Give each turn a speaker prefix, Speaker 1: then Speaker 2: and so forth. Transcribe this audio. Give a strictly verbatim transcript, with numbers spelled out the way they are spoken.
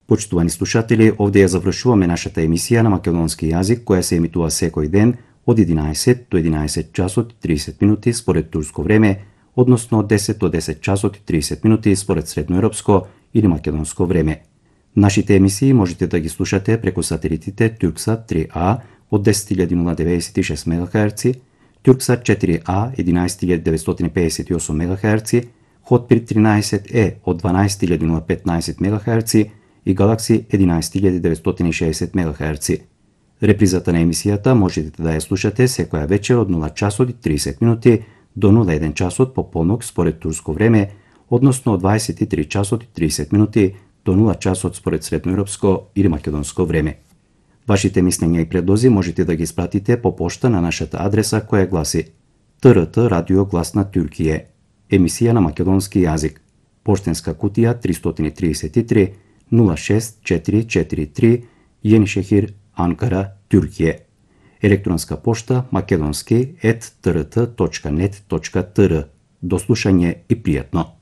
Speaker 1: Почитувани слушатели, овде ја завршуваме нашата емисија на македонски јазик, која се емитува секој ден од единаесет до единаесет часот и тридесет минути според турско време, односно од десет до десет часот и тридесет минути според средноевропско или македонско време. Нашите емисии можете да ги слушате преку сателитите Турксат три А од десет илјади деветдесет и шест мегахерци, Турксат четири А единаесет илјади деветстотини пеесет и осум мегахерци, Хотбирд тринаесет Е од дванаесет илјади петнаесет мегахерци и Галакси единаесет илјади деветстотини и шеесет мегахерци. Репризата на емисијата можете да ја слушате секоја вечер од нула часот и тридесет минути до нула еден часот по полнок според турско време, односно од дваесет и три часот и тридесет минути до нула часот според средноевропско или македонско време. Вашите мислења и предлози можете да ги испратите по пошта на нашата адреса која гласи Т Р Т Радио Глас на Туркије, емисија на македонски јазик, поштенска кутија триста и тридесет и три нула шест четири четири три, Јенишехир, Анкара, Туркије. Електронска пошта македонски ет т р т точка нет точка т р. До слушање и пријатно.